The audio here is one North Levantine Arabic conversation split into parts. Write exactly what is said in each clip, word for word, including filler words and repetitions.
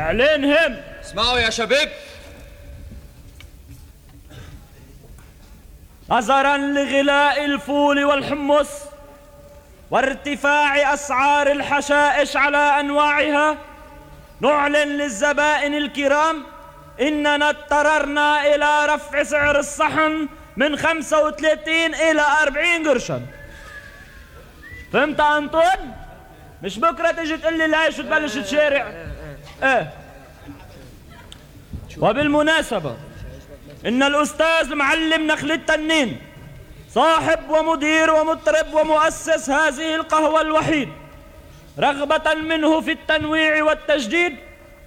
اعلنهم. اسمعوا يا شباب. نظرا لغلاء الفول والحمص وارتفاع أسعار الحشائش على أنواعها، نعلن للزبائن الكرام إننا اضطررنا إلى رفع سعر الصحن من خمسة وثلاثين إلى أربعين قرشا. فهمت أنطون؟ مش بكرة تيجي تقول لي ليش وتبلش تشارع. ايه. وبالمناسبة إن الأستاذ المعلم نخل التنين صاحب ومدير ومطرب ومؤسس هذه القهوة الوحيد، رغبة منه في التنويع والتجديد،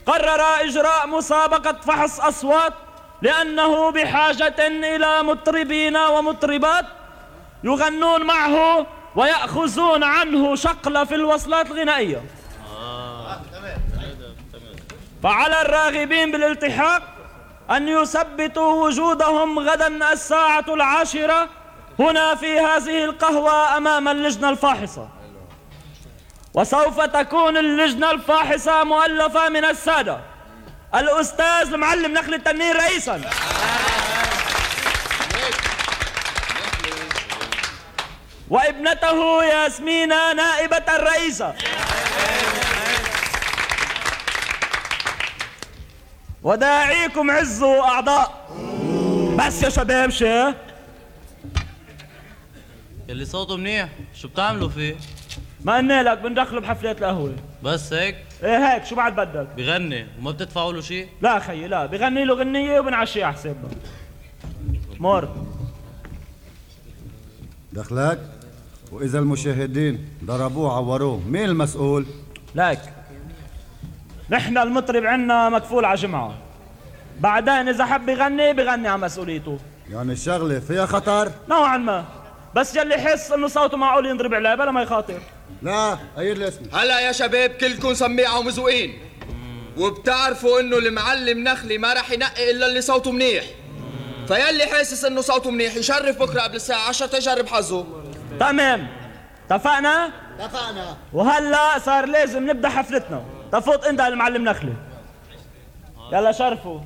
قرر إجراء مسابقة فحص أصوات، لأنه بحاجة إلى مطربين ومطربات يغنون معه ويأخذون عنه شقلة في الوصلات الغنائية. فعلى الراغبين بالالتحاق أن يثبتوا وجودهم غدا الساعة العاشرة هنا في هذه القهوة أمام اللجنة الفاحصة. وسوف تكون اللجنة الفاحصة مؤلفة من السادة الأستاذ المعلم نخل التنين رئيسا، وابنته ياسمينة نائبة الرئيسة، وداعيكم عزوا أعضاء. بس يا شباب شي اللي صوته منيح شو بتعملوا فيه؟ ما قلنا لك بندخله بحفلات القهوة. بس هيك؟ ايه هيك، شو بعد بدك؟ بغني وما بتدفعوا له شيء؟ لا خيي لا، بغني له غنية وبنعشيه على حسابنا. مور دخلك. وإذا المشاهدين ضربوه عوروه مين المسؤول؟ لك نحن المطرب عنا مكفول على جمعة، بعدين إذا حب يغني بغني على مسؤوليته. يعني الشغلة فيها خطر؟ نوعا ما، بس يلي يحس إنه صوته معقول ينضرب عليه بلا ما يخاطر. لا قيد لي اسمي. هلا يا شباب كلكم سميعة ومزوقين، وبتعرفوا انه المعلم نخلي ما راح ينقي الا اللي صوته منيح، فيلي حاسس انه صوته منيح يشرف بكره قبل الساعة عشرة تجرب حظه. تمام، اتفقنا؟ اتفقنا. وهلا صار لازم نبدا حفلتنا. تفوت انت المعلم نخلي. يلا شرفوا.